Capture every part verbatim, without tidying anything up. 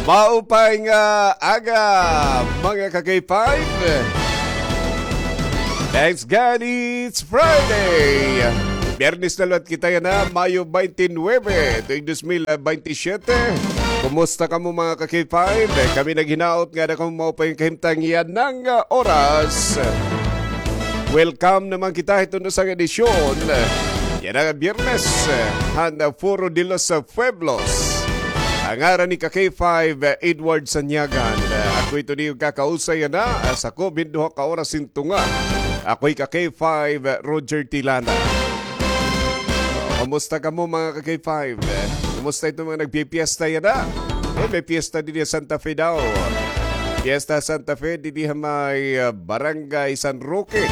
Maupay nga aga, mga ka-K five. Thanks God it's Friday. Biyernes na liwat kita yana, Mayo twenty-nine, tuig dos mil bente siyete. Kumusta kamo, mga ka-K five? Kami naghinaot nga ada kamo maupay nga kahimtang yana nga oras. Welcome naman kita hiton usa nga edisyon yana nga Biyernes han Foro de los Pueblos. An ngaran ni ka-K five, Edward Sanyagan. Ako ito niyo kakausay yana, ah, sa ko, duha ka oras hin tunga. Ako hi ka-K five, Roger Tilana. Kumusta kamo, mga ka-K five? Kumusta ito mga nagpipiesta yana? Eh, may piyesta dinhi ha Santa Fe daw. Piyesta Santa Fe, dinhi ha may, ah, Barangay San Roque.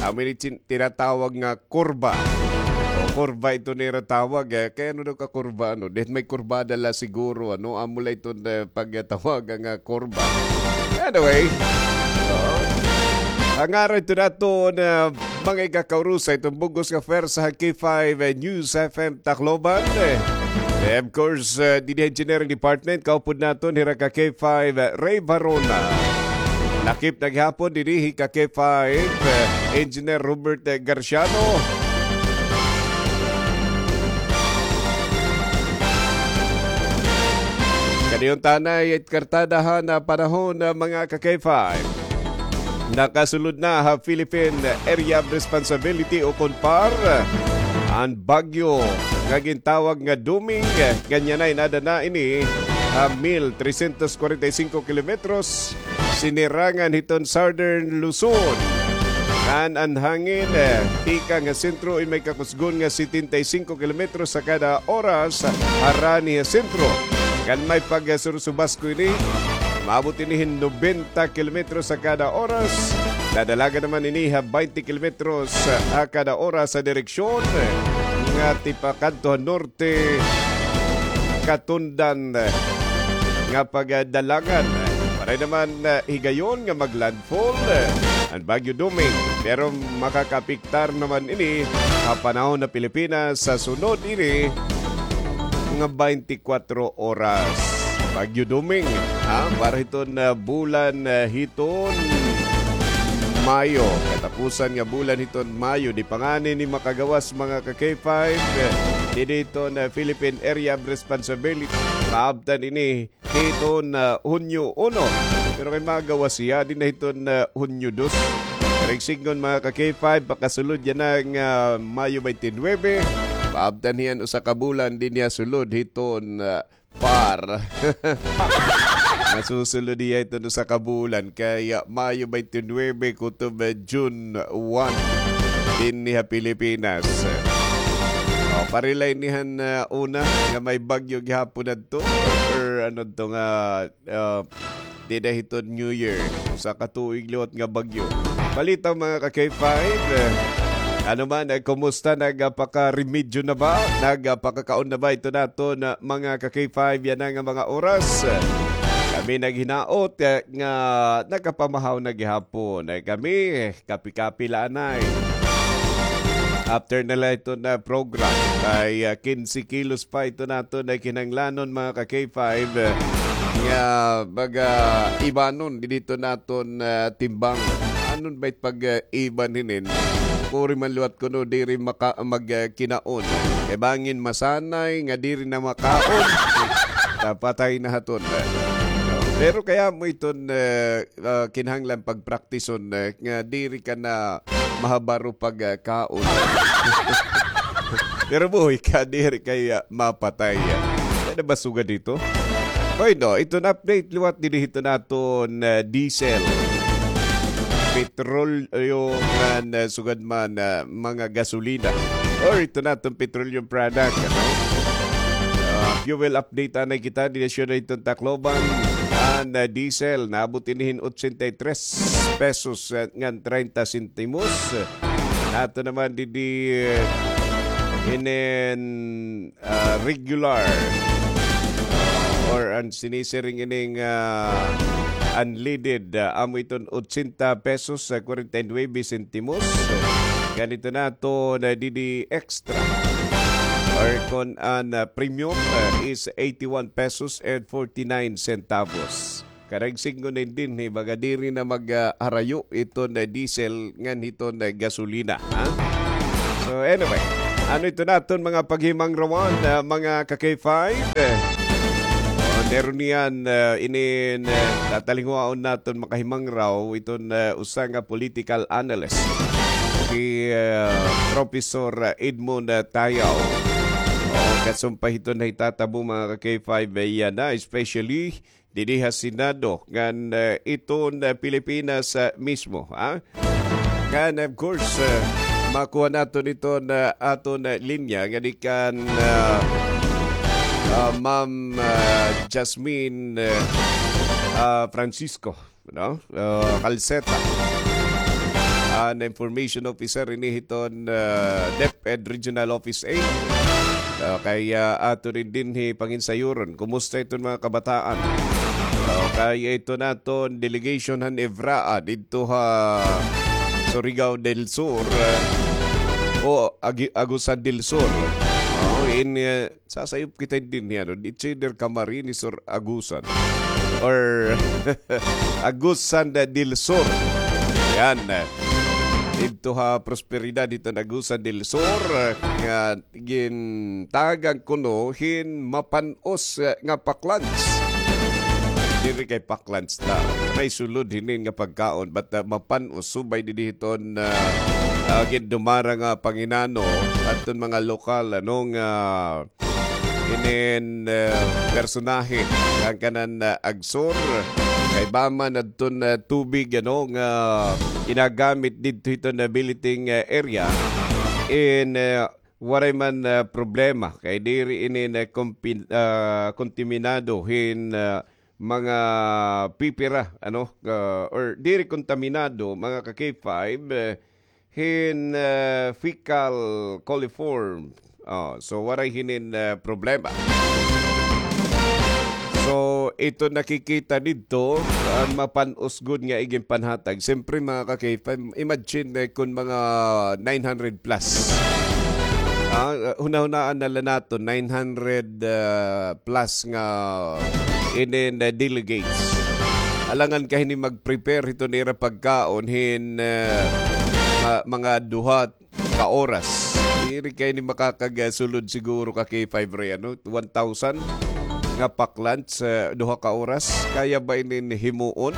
Amo ini tin-, tinatawag nga kurba. O, kurba ito nira tawag, eh. Kay ano daw ka kurba, ano? Dahil may kurbada la siguro, ano? Amo la ito na pagtawag nga kurba. Anyway, so, an ngaran ito naton, ah, mga igkakaurusay, iton bug-os nga pwersa han K five, eh, News F M Tacloban. Eh, of course, eh, dinhi ha Engineering Department, kaupod naton, hira ka K five, eh, Ray Barona. Lakip na gihapon dinhi hi ka K five, eh, Engineer Robert, eh, Garciano. Kaniuntanay it kartadahan nga panahon, ah, mga ka-K five. Nakasulod na ha Philippine Area of Responsibility o kon PAR an bagyo nga gintawag nga Doming, ngan yana inada na ini ha mil tresyentos kwarenta y singko kilometros sinirangan hiton Southern Luzon. Ngan an hangin, eh, tikang ha sentro in may kakusgon nga setenta y singko kilometros sa kada oras harani ha sentro. Ngan may pagsursubasko ini, maabot ini hin nobenta kilometros sa kada oras. Dadalagan naman ini ha baynte kilometros ha kada oras sa direksyon nga tipakadto ha norte, katundan nga pagdalagan. Pareho naman, eh, higayon nga maglandfall, eh, an Bagyo Doming. Pero makakaapektar naman ini ha panahon ha Pilipinas sa sunod ini nga baynte kwatro oras. Bagyo Doming, ha? Para hiton, ah, bulan, ah, hiton Mayo. Katapusan nga bulan hiton Mayo. Di pa ngani ini makagawas, mga ka-K five. Eh, didi hiton, ah, Philippine Area of Responsibility. Maabtan ini hiton, ah, Hunyo uno. Pero kay magawas hiya, didi na hiton, ah, Hunyo dos. Pero sidngon, mga ka-K five, pakasulod yana nga Mayo baynte nuwebe. Maabtan hiya hin usa ka bulan, didi na sulod hiton, ah, PAR. Masusulod hiya hiton usa ka bulan kay, ah, Mayo baynte nuwebe kutob, ah, June one dinhi ha Pilipinas. O, pareho la ini han, ah, una nga may bagyo gihapon adto or ano to nga, ah, dida hiton New Year. Usa ka tuig liwat nga bagyo. Balita, mga ka-K five, eh, ano man, eh, kumusta? Nagpakaremedyo na ba? Nagpakakaon na ba ito naton, ah, mga ka-K five yana nga mga oras? Kami naghinaot, eh, nga nakapamahaw na gihapon. Eh, kami, eh, kapi-kapi la anay. After na la ito na program, kay, ah, kinse kilos pa ito naton nga kinahanglanon, mga ka-K five, eh, nga baga ibanon didi hiton naton, ah, timbang. Ano ba it pag, ah, iban hinin? Kuri man liwat kuno diri maka-, mag, ah, kinaon. Kay bangin masanay nga diri na makaon. Tapatay na hiton. Pero kay amo iton, eh, ah, kinahanglan pagpraktison, eh, nga diri ka na mahabaro pag, ah, kaon. Pero buhi ka, diri kay, ah, mapatay. Ano ba sugad ito? Hoy, no, iton update liwat didi hiton naton, ah, diesel. Petrolyo ngan, ah, sugad man, ah, mga gasolina. Or iton naton petroleum product, ano? Ah, fuel update anay kita, didi ha siyudad hiton Tacloban. An, ah, diesel, naabot ini hin otsenta y tres pesos, ah, ngan treinta sentimos. Ato naman didi, eh, inin, ah, regular or an sinisiring ining, ah, unleaded, ah, amo iton otsenta pesos, ah, kwarenta y nuwebe sentimos. Ganito na ito na didi extra. or kon an, ah, premium, ah, is eighty-one pesos and forty-nine centavos. Karuyag sidngon dinhi, baga diri na mag, ah, harayo iton, ah, diesel ngan hiton, ah, gasolina, ha? So, anyway, ano ito naton mga paghimangrawan, ah, mga ka-K five? Eh, oh, meron niyan, ah, inin, ah, tatalingwaon naton makahimangraw iton, ah, usa nga political analyst, si, ah, Professor Edmund, ah, Tayaw. Oh, kasumpay hiton nahitatabo, mga ka-K five, eh, yana, especially didi ha Senado ngan, eh, iton, eh, Pilipinas, eh, mismo, ha? Ngan, of course, eh, makuha naton iton, eh, aton, eh, linya nga gikan, eh, ah, Ma'am, eh, Jasmine, eh, ah, Francisco, no? Ah, Calceta. An information officer ini hiton, ah, DepEd Regional Office eight. Ah, kay, ah, ato rin dinhi panginsayuron. Kumusta iton mga kabataan? Ah, kay ito naton delegation han EVRAA didto ha Surigao del Sur, ah, o Agi-, Agusan del Sur. Oh, in, ah, sasayop kita dinhi, ano, it's either Camarines or Agusan. Or Agusan del Sur. Yan. Didto ha Prosperidad, didto ha Agusan del Sur, nga gintagan kuno hin mapan-os, eh, nga paklans. Diri kay paklans na. May sulod hinin nga pagkaon, but, uh, mapan-os subay didi hiton, uh, uh, gindumara nga panginano, adton mga lokal, ano, nga inin, uh, personahe, ang kanan, uh, Agsur, kay bama na adton, uh, tubig, ano, nga ginagamit didto hiton, uh, billeting, uh, area. In, uh, waray man, ah, problema kay diri ini na kompi-, ah, kontaminado hin, ah, mga pipira, ano, ah, or diri kontaminado, mga ka-K five, eh, hin, ah, fecal coliform. Oh, so waray hinin, ah, problema. So, ito nakikita didto, an mapan-os gud nga iginpanhatag. Siyempre, mga ka-K five, imagine, eh, kun mga nine hundred plus. Ah, hunahunaan na la naton, nine hundred, ah, plus nga inin, eh, delegates. Alangan ka hini mag-prepare hiton ira pagkaon hin, eh, ma-, mga duha ka oras. Diri kay ni makakagasulod siguro ka K five Ray, ano? One thousand nga paklans sa duha ka oras. Kaya ba inin himuon?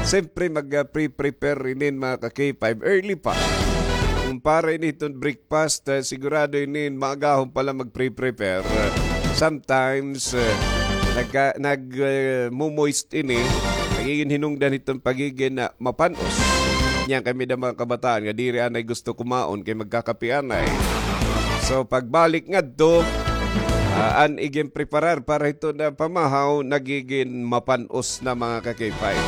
Siyempre, mag, ah, pre-prepare inin, mga ka K five, early pa. Kung para ini hiton breakfast, ah, sigurado inin maagahon pa la mag-pre-prepare. Sometimes, ah, nagka-, nag, ah, mo-moist ini, nagigin hinungdan hiton pagigin, ah, mapan-os. Niyan kami na mga kabataan nga diri anay gusto kumaon kay magkakape anay. So, pagbalik ngadto, ah, an igin preparar para hiton pamahaw, nagigin mapan-os na, mga ka-K five.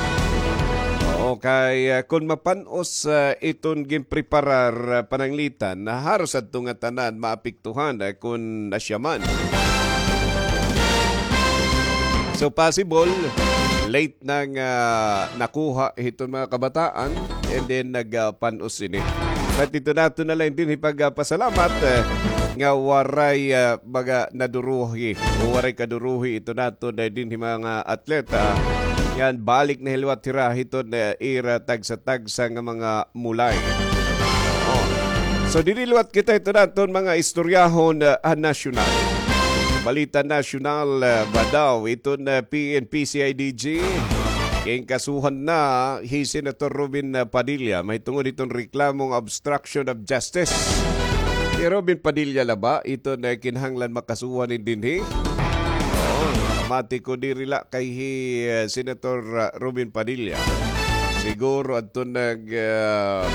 Oo, kay, ah, kun mapan-os, ah, iton ginpreparar, ah, pananglitan, na haros adto nga tanan maapektuhan, ah, kun asya man. So, possible, late na nga nakuha hiton mga kabataan, and then nag, ah, pan-os ini. But ito nato na lang dinhi pagpasalamat, eh, nga waray, ah, mga naduruhi o waray kaduruhi ito nato na dinhi mga atleta. Yan, balik na hiliwat hira hiton, eh, ira tagsa-tagsa nga mga mulay. Oh. So, diri liwat kita ito naton mga istoryahon, ah, nasyonal. Balita nasyonal, ah, ba daw iton, ah, P N P C I D G. Ginkasuhan na hi Senator Robin, ah, Padilla. Mahitungod iton reklamong obstruction of justice. Hi Robin Padilla la ba iton, ah, kinahanglan makasuhan dinhi? Oo, mati ko diri la kay hi, ah, Senator, ah, Robin Padilla. Siguro adto nag, ah,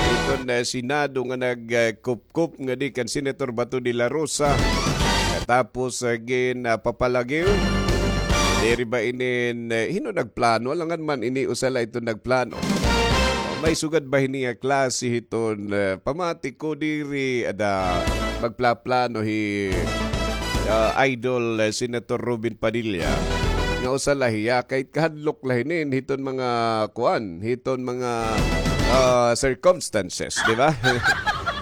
iton, ah, Senado nga nag, ah, kupkup nga di kan Senator Bato de la Rosa. Katapos, ah, gin, ah, papalagiw. Diri ba inin, ah, hin-o nagplano? Alangan man ini usa la iton nagplano. May sugad ba hini nga klase hiton, ah, pamati ko diri ada magplaplano hi, ah, Idol, ah, Senator Robin Padilla. Nga usa la hiya, kay kahadlok la hinin hiton mga kuan, hiton mga, ah, circumstances, di ba?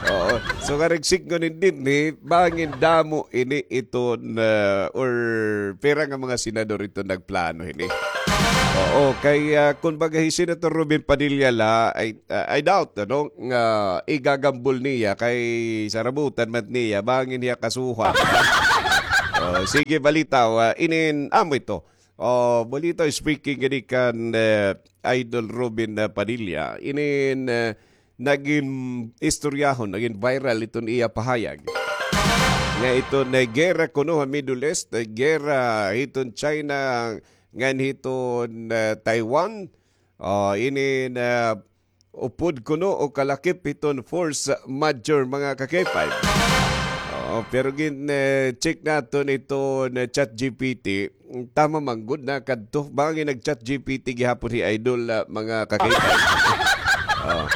Oo. So, karigsikngon hini dinhi, bangin damo ini iton, ah, or pira nga mga senador iton nagplano hini. Oo, kay, ah, kun baga hi Senator Robin Padilla la, I, ah, I doubt, ano, nga igagambol niya kay sarabutan man niya, bangin hiya kasuhan. Oh, sige, balitaw, ah, inin, amo ito. Oh, balitaw, speaking gani kan, eh, Idol Robin, ah, Padilla, inin, eh, nagin istoryahon, nagin viral iton iya pahayag. Nga iton, eh, gera kuno ha Middle East, eh, gera hiton China, ngan hiton, eh, Taiwan. Oh, ini na upod kuno o kalakip hiton force majeure, mga ka-K five. Oh, pero gin, eh, check naton iton, eh, ChatGPT. Tama man gud na kadto. Bangin nag-ChatGPT gihapon hi Idol, ah, mga ka-K five. Oh.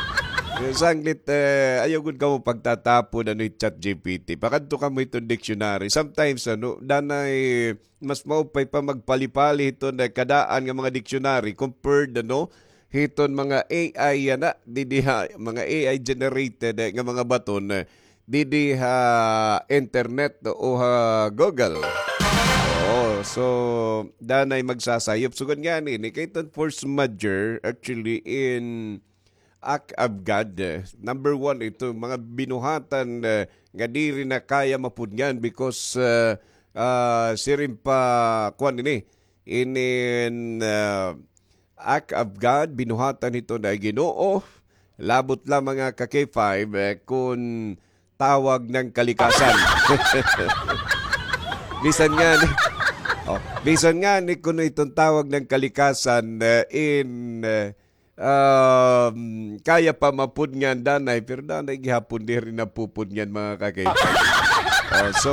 Sanglit, eh, ayaw gud kamo pagtatapon, ano, hi ChatGPT. Pakadto kamo hiton dictionary. Sometimes, ano, danay mas maupay pa magpalipali hiton, eh, kadaan nga mga dictionary compared, ano, hiton mga A I yana, didi ha, mga A I generated, eh, nga mga baton, eh, didi ha internet o ha Google. Oo, so, danay magsasayop. Sugad ngani, ni kay iton force majeure, actually, in act of God, eh, number one, ito, mga binuhatan, eh, nga diri na kaya mapudngan because, eh, ah, siring pa, kuan ini, inin, ah, act of God, binuhatan hiton Ginoo, labot la, mga ka-K five, eh, kun tawag ng kalikasan. Bisan ngani, oh, bisan ngani kuno iton tawag ng kalikasan, eh, in, eh, um, kaya pa mapudngan danay, pero danay gihapon diri napupudngan, mga ka-K five. Oh, so,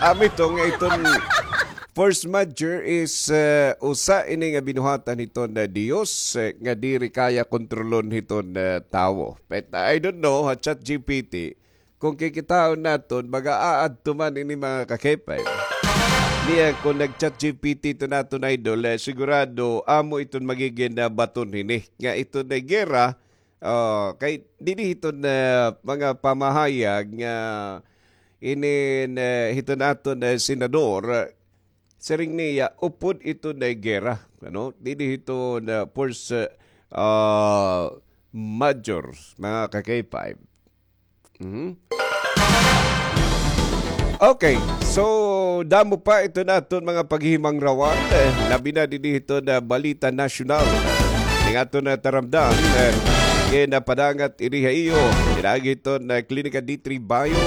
amo ito nga iton force majeure is, eh, usa ini nga binuhatan hiton Dios, eh, nga diri kaya kontrolon hiton, eh, tawo. But I don't know, ha ChatGPT, kung kikitaon naton, mag-aadto man ini, mga ka-K five. Niya, kung nag-ChatGPT ito naton, Idol, eh, sigurado, amo iton magigin na baton hini. Nga ito na gera, oh, kay didi hiton na mga pamahayag nga inin, eh, hiton aton, eh, senador, siring niya, upod ito na gera, ano? Didi hiton na force, ah, majeure, mga ka-K five. Mhm. Okay, so damo pa ito naton mga paghihimangrawan, eh, labi na didi hiton na balita nasyonal. Ning aton na taramdan, eh, kay napadangat ini ha iyo, pinaagi hiton na Klinika D three Bio,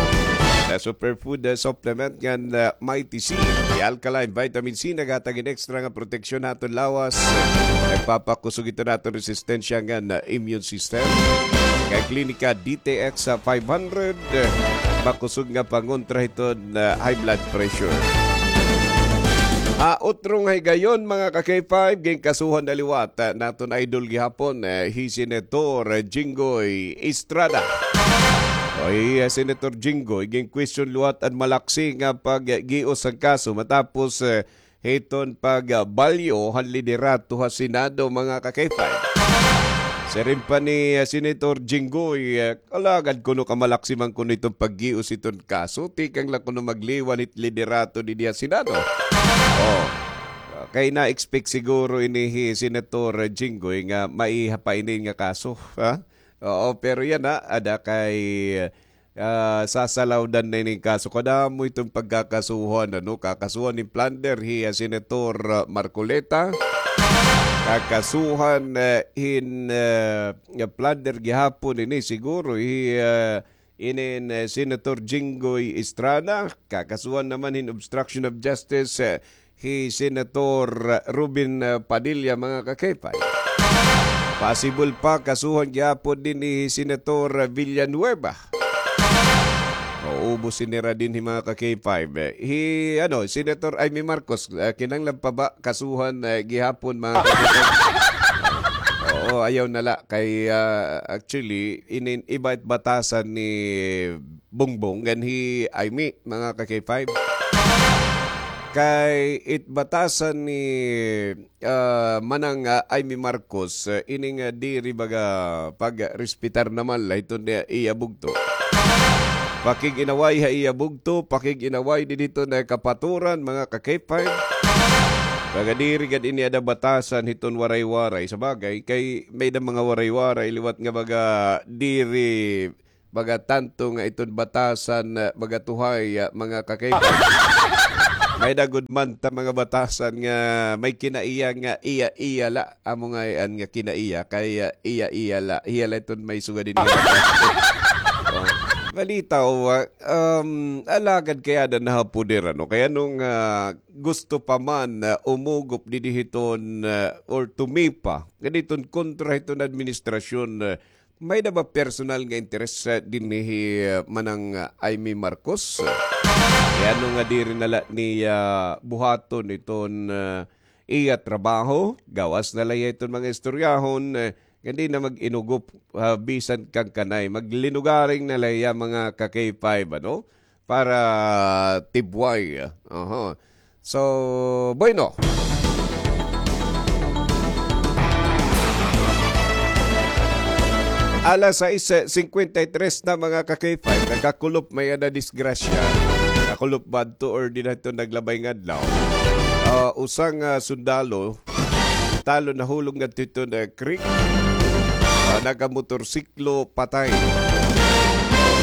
na superfood, eh, supplement ngan, eh, Mighty C, the alkaline vitamin C, naghatag hin extra nga proteksyon ha aton lawas. Nagpapakusog ito naton resistensya ngan, ah, immune system. Kay Klinika D T X five hundred, ah, makusog nga pangontra hiton, ah, high blood pressure. Ah, utro nga higayon, mga ka-K five, ginkasuhan na liwat, ah, naton idol gihapon, eh, hi Senator Jinggoy Estrada. O, hi, ah, Senator Jinggoy, gin-question liwat an malaksi nga paggios han kaso matapos, eh, hiton pagbalyo han liderato ha Senado, mga ka-K five. Siring pa ni, ah, Senator Jinggoy, ah, alagad kuno kamalaksi man kuno iton paggios hiton kaso, tikang la kuno magliwan hit liderato didi ha Senado. Oh. Kay na-expect siguro ini hi Senator Jinggoy nga maiha pa ini nga kaso, ha? Oo, pero yana, ada kay ah, sasalawdan na ini nga kaso. Kadamo iton pagkakasuhan, ano, kakasuhan hin plunder hi, ah, Senator, ah, Marcoleta. Kakasuhan, eh, hin, eh, plunder gihapon ini siguro hi, eh, inin, eh, Senator Jinggoy Estrada. Kakasuhan naman hin obstruction of justice, eh, hi Senator Robin, ah, Padilla, mga ka-K five. Possible pa, kasuhan gihapon dinhi hi Senator Villanueva. Maubos ini ra dinhi, mga ka-K five. Eh, hi, ano, Senator Imee Marcos, ah, kinahanglan pa ba kasuhan, eh, gihapon, mga ka-K five? Oo, ayaw na la. Kay, ah, actually, inin, iba it batasan ni Bongbong ngan hi Imee, mga ka-K five. Kay it batasan ni, ah, Manang, ah, Imee Marcos, ah, ini nga diri baga pagrespetar naman la hiton iya bugto. Pakig-inaway ha iya bugto, pakig-inaway didi hiton kapaturan, mga ka-K five. Baga diri gad ini ada batasan hiton Waray-Waray. Sa bagay, kay may-ada mga Waray-Waray, liwat nga baga diri, baga tanto nga iton batasan, ah, baga tuhay, ah, mga ka-K five. May-ada gud man ta mga batasan nga may kinaiya nga iya-iya la. Amo ngay-an nga kinaiya, kay, ah, iya-iya la. Iya la iton may sugad ini. Oh. Balita, oh, ah, um, alagad kay ada na ha poder, ano? Kay ano nga gusto pa man, ah, umugop didi hiton, ah, or tumipa, nga diton kontra hiton administrasyon, ah, may-ada ba personal nga interes, ah, dinhi, ah, Manang, ah, Imee Marcos? Kay ano nga diri na la niya buhaton iton, ah, iya trabaho, gawas na la hiya iton mga istoryahon, eh, nga di na mag-inugop, ah, bisan kan kanay. Maglinugaring na la hiya, mga ka-K five, ano? Para tibway. Aha. So, bueno. Alas sais singkwenta y tres na, mga ka-K five. Nagkakulop may ada disgrasya. Nakakulop ba adto or dida hiton naglabay nga adlaw? Ah, usa nga sundalo, talo nahulog ngadto hiton creek. Ah, nagamotorsiklo, patay.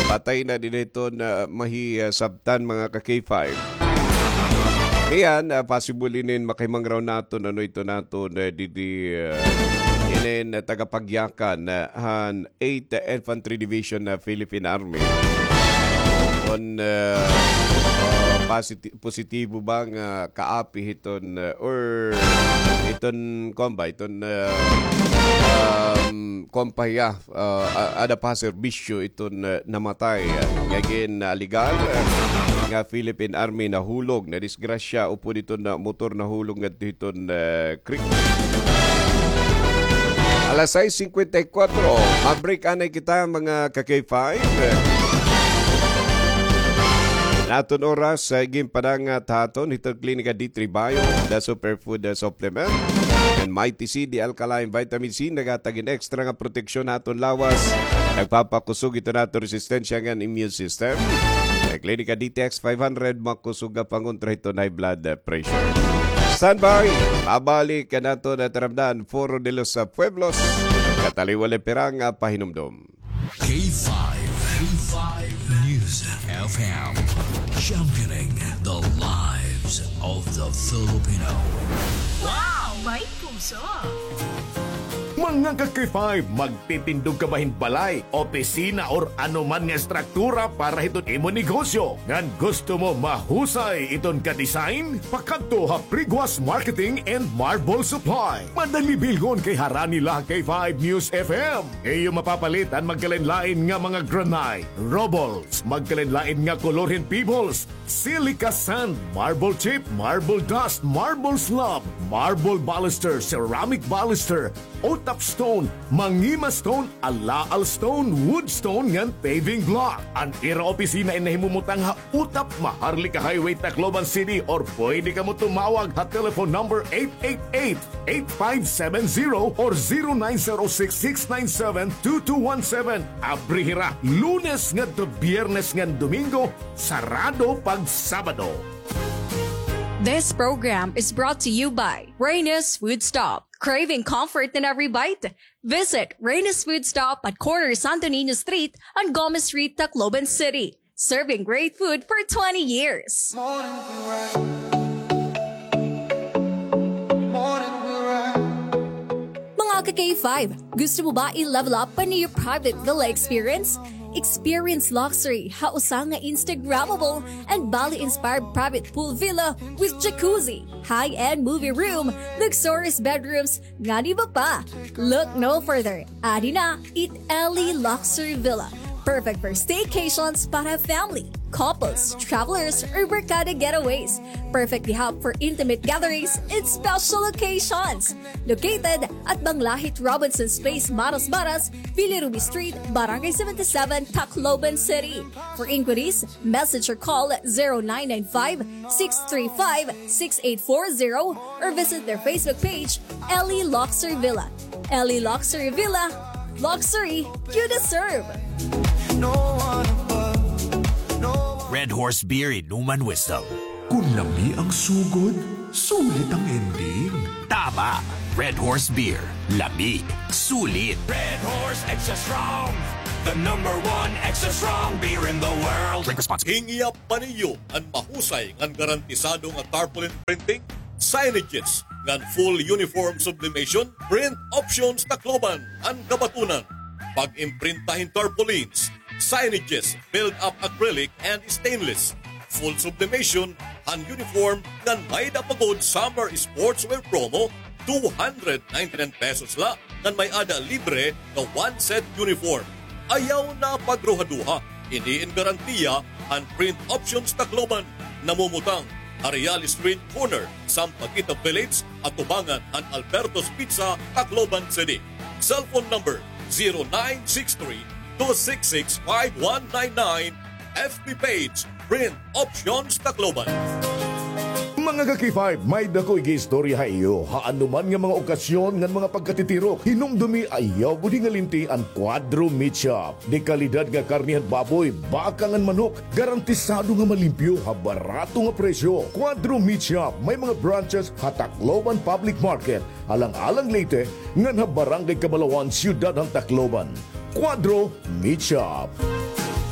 Patay na dida hiton, ah, mahi, ah, sabtan, mga ka-K five. Iyan, ah, possible inin makahimangraw naton, ano, iton naton, ah, didi, ah, inin, ah, tagapagyakan, ah, han eighth Infantry Division na Philippine Army. Kon, ah, ah, positi-, positibo ba nga kaapi hiton, ah, or iton, kuan ba, iton, ah, um, kuan pa hiya, ah, a-, ada pa ha serbisyo iton, ah, namatay. Nga gin-alegar, ah, nga Philippine Army nahulog, nadisgrasya upod iton, ah, motor nahulog ngadto hiton, ah, creek. Alas sais singkwenta y kwatro, ma-break anay kita, mga ka-K five. An aton oras, ah, ginpadangat ha aton hiton Klinika D three Bio, the superfood, ah, supplement. An Mighty C, the alkaline vitamin C, naghatag hin extra nga proteksyon ha aton lawas. Nagpapakusog hiton aton resistensya ngan immune system. An Klinika D T X five hundred, makusog nga pangontra hiton high blood, ah, pressure. Standby, mabalik an aton taramdan, Foro de los, ah, Pueblos, kataliwala pirang, ah, pahinumdom. K five, K five News F M, championing the lives of the Filipino. Wow! May puso! Mga ka-K five, magtitindog ka ba hin balay, opisina, or ano man nga estruktura para hiton imo negosyo? Ngan gusto mo mahusay iton ka-design? Pakadto ha Priguas Marketing and Marble Supply. Madali bilhon kay harani la ha K five News F M. Iyo mapapalit an magkalain-lain nga mga granite, rubbles, magkalain-lain nga kolor hin pebbles, silica sand, marble chip, marble dust, marble slab, marble baluster, ceramic baluster, utap stone, mangima stone, alaal stone, wood stone, ngan paving block. An ira opisina in nahimumutang ha Utap, Maharlika Highway, Tacloban City, or pwede kamo tumawag ha telephone number eight eight eight, eight five seven zero or zero nine zero six, six nine seven, two two one seven. Abri hira Lunes ngadto Biyernes ngan Domingo, sarado pag Sabado. This program is brought to you by Reyna's Food Stop. Craving comfort in every bite? Visit Reyna's Food Stop at corner Santo Niño Street and Gomez Street, Tacloban City. Serving great food for twenty years. Mga ka-K five, gusto mo ba i-level up pa an iyo private villa experience? Experience luxury ha usa nga Instagrammable and Bali-inspired private pool villa with jacuzzi, high-end movie room, luxurious bedrooms, ngan iba pa. Look no further. Adi na it Ellie Luxury Villa. Perfect for staycations para family, couples, travelers, or barkada getaways. Perfect hihap for intimate gatherings and special occasions. Located at Banglahit Robinson's Place, Maras Maras, Villa Ruby Street, Barangay seventy-seven, Tacloban City. For inquiries, message or call zero nine nine five, six three five, six eight four zero or visit their Facebook page, Ellie Luxury Villa. Ellie Luxury Villa, luxury you deserve. No one above. Red Horse Beer, inuman wisdom. Kung lami ang sugod, sulit ang ending. Tama! Red Horse Beer. Lami. Sulit. Red Horse Extra Strong, the number one extra strong beer in the world. Drink responsibly. Hingiya pa niyo an mahusay ngan garantisado nga tarpaulin printing, signages, ngan full uniform sublimation, Print Options Tacloban an kabatunan. Pag-imprinta hin tarpaulins, signages, build-up acrylic and stainless, full sublimation han uniform, ngan may-ada pa gud summer sportswear promo, two hundred ninety-nine pesos la, ngan may-ada libre nga one set uniform. Ayaw na pagruhaduha, ini in garantiya han Print Options Tacloban, namumutang ha Real Street corner, Sampaguita Village, atubangan han Alberto's Pizza, Tacloban City. Cellphone number, zero nine six three, two six six, five one nine nine. F B page, Print Options Tacloban. Mga ka-K five, may-ada ko igiistorya ha iyo. Ha anuman nga mga okasyon ngan mga pagkatitirok, hinumdumi ayaw gud hingalinti an Cuadro Meat Shop. Dekalidad nga karne han baboy, baka ngan manok, garantisado nga malimpyo ha barato nga presyo. Cuadro Meat Shop, may mga branches ha Tacloban Public Market, Alang-alang, Leyte, ngan ha Barangay Cabalawan, Siyudad han Tacloban. Cuadro Meat Shop.